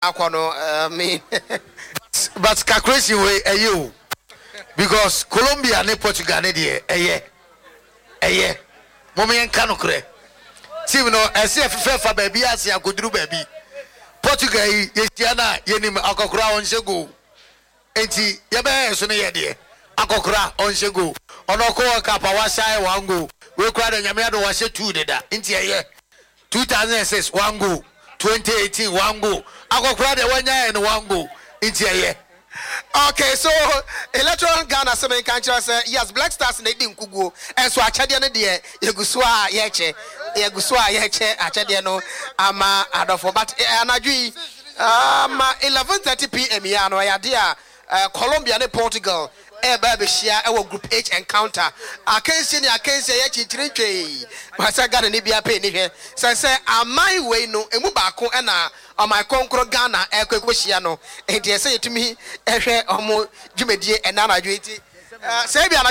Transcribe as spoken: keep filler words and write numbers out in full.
Akɔ no, I mean. But calculation wei ɛyɛ o, because Colombia ne Portugal ne deɛ, ɛyɛ ɛyɛ mo yɛn ka no korɛ, team no ɛsɛ ɛfefɛ fa baabi ase akoduru baabi. Portugal yi, yɛhyia no a, yɛnim akɔkora ɔnhyɛ goal, nti yɛbɛyɛ so no yɛ deɛ akɔkora ɔnhyɛ goal. Ɔno ɔkɔ World Cup a, wahyɛ ayɛ one goal. Wei kora de, Nyame ado, wahyɛ two deda, nti ɛyɛ two thousand and six one goal, twenty eighteen one goal. Akɔkora deɛ, wanya yɛ no one goal, nti ɛyɛ. Okay, so Electoral Ghana sɛ menka nkyerɛ sɛ yes, Black Stars na ɛdi nkuguo, ɛnso akyɛdeɛ no deɛ, yɛgu so a yɛkyɛ, yɛgu so a yɛkyɛ akyɛdeɛ no ama adɔfo. But eh, anadwo yi um, eleven thirty p m yi ano, ɛyɛ adeɛ a uh, Colombia ne Portugal ɛɛba abɛhyia ɛwɔ Group H encounter. Akansie ne akansie yɛ kyikyiri ntwee sɛ Ghana ne bia pɛ ni hwɛ sɛ sɛ aman wei no emu baako ɛna ɔman kɔnkɔrɔ Ghana ɛkɔ ɛkɔhyia no, nti ɛsɛ yɛtumi ɛhwɛ ɔmo dwumadie ɛna anadwo yi. Nti sɛ ebi anadwo